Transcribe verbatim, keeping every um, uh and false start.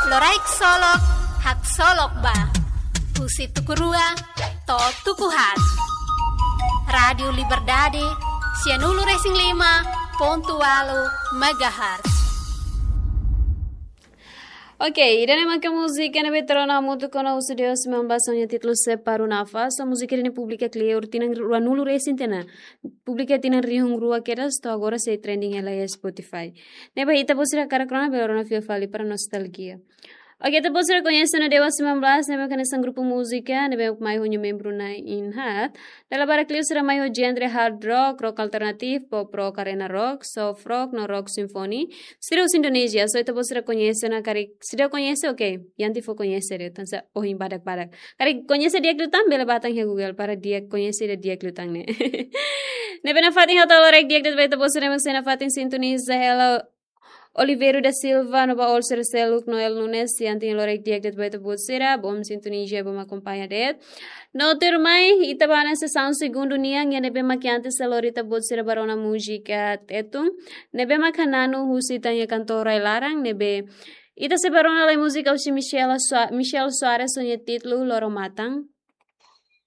Loraik Solok, haksolok ba. Husi tuku rua to'o tuku haat. Rádiu Liberdade, sianulu-resin-lima pontu ualu megahertz. Ok, ida-ne'e maka múzika ne'ebé rona hamutuk ona husi Deus Membas ho nia títulu Separu Nafas, múzika ne'e publika kleur tinan ruanulu-resin-tiha ona. Publika tinan rihun rua kedas, to'o agora sei trending hela iha Spotify. Ne'ebé ita-boot sira hakarak rona, bele rona fila fali para nostalgia. Ok, ita-boot sira koñese ona Deus Membas, ne'ebé hanesan grupu múzika ne'ebé mai ho nia membru na'in haat. Dala barak liu sira mai ho genre hard rock, rock alternatif, pop rock, arena rock, soft rock, no rock symphony. Sira husi Indonézia, so ita-boot sira koñese ona, karik seidauk koñese, ok, iha ne'e fó koñese de'it, tanba ohin badak-badak. Karik koñese di'ak liután, bele bá tan iha Google para di'ak koñese ida di'ak liután ne'e. Ne'ebé nafatin ha'u hato'o loraik di'ak de'it ba ita-boot sira mak sei nafatin sintoniza hela Oliveiro da Silva no ba Olser Seluk, Noel Nunes, iha ne'e loraik di'ak de'it ba ita-boot sira, bom sintonia, bom akompaña de'it. No tuirmai, ita bá ona sesaun segundu nian, iha ne'ebé mak antes halo ita-boot sira bá rona múzika Tetun, ne'ebé mak hananu husi ita-nia kantór rai-laran, ne'ebé ita sei bá rona lai múzika husi Michelle Soa-, Michelle Soares ho nia títulu Loro Matan.